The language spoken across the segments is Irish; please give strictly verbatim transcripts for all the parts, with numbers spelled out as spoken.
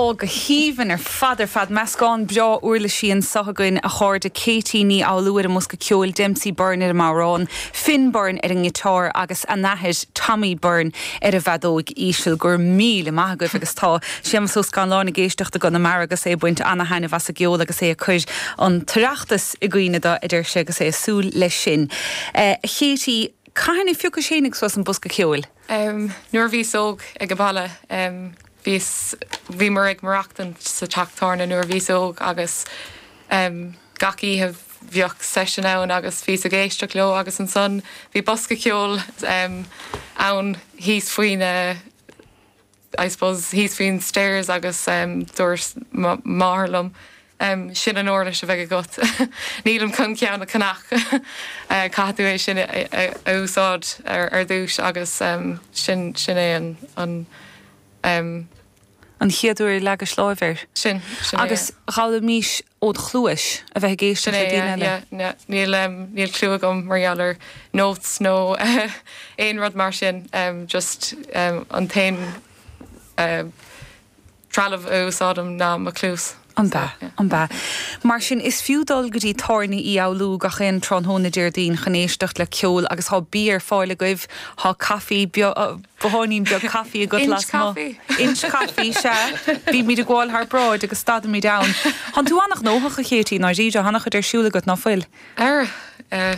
Ó go haoibhinn ar fad ar fad meascán breá uirlisí anseo againn a chairde Katie Ní Fhoghlú ar an mbosca ceoil Dempsey Byrne ar an mbodhrán, Finn Byrne ar an ngiotár agus a n-athair Tommy Byrne ar an bhfeadóg íseal go raibh míle maith agaibh agus tá Séamus Ó Scanláin ag éisteacht i gConamara agus é ag baint an-taitneamh as an gceol agus é ag cur an tOireachtas i gcuimhne dó a deir sé agus é ag súil leis sin. Uh, Katie, cathain a phiocais féinig suas an bosca ceoil? Um, nuair a bhíos óg ag an baile um, bhís bhí mar ag maireachtaint sa teach tábhairne nuair a bhíos óg agus um, gach oíche bheadh session ann agus bhíos ag éisteacht leo agus ansan bhí bosca ceoil um, ann thíos faoin I suppose thíos faoin stairs agus um, dúirt máthair liom. Um, sin an uirlis a bheidh agat. Nílim chun ceann a cheannach uh, caithfidh tú é sin a, a, a úsáid ar, ar dtús agus um, sin sin é an, an um, An chéad uair a leagais lámh air. sin, sin é, Agus d'fhoghlaimís ó chluais a bheith ag éisteacht Sin le é, daoine eile. yeah, yeah, níl um, níl clue agam mar gheall ar notes nó aon rud mar sin um, just um, an t-aon uh, trealamh a úsáidim ná mo chluas. An ba an ba. Mar sin is fiú dul go dtí tábhairne Uí Fhoghlú gach aon tráthnóna Déardaoin chun éisteacht le ceol agus tá bia ar fáil agaibh tá caife botháinín beag caife agat Inch las caife. Inch caife sea bímid ag gabháil thar bráid agus stadaimid ann. Tá tú an-ghnóthach a Chéití ná ríide an-chuid ar siúl agat ná fuil. Ar uh,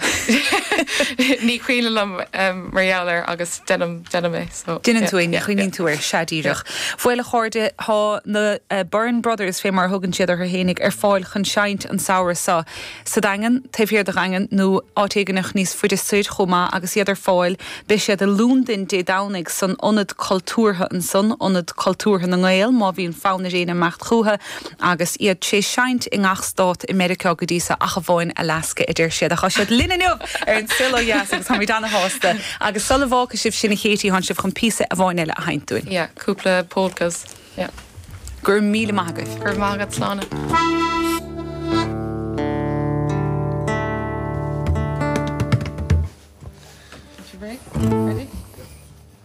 ní cuimhin liom um, mar gheall air agus déanaim déanaim é so Déanann tú é ní chuimhníonn tú air sea díreach. Bhuel a chairde tá na uh, Byrne Brothers fé mar thugann siad orthu fhéinig ar fáil chun seinnt an samhradh seo sa Daingean taobh thiar de Dhaingean nó áit éigineach níos faide soir chomh maith agus iad ar fáil beidh siad i Londain Dé Domhnaigh san ionad cultúrtha ansan ionad cultúrtha na nGael má bhíonn fonn ar éinne imeacht chucu agus iad ag seinnt i ngach stát i Meiriceá go dtí seo ach amháin Alaska a deir siad a tá siad linn inniu ar an Saol Ó Dheas agus táimid an-shásta agus sula bhfágfaidh sibh sin a Chéití tá sibh chun píosa amháin eile a sheinnt dúinn. Yeah, cúpla polkas. Yeah. Gur míle maith agaibh. Gur mágad slána.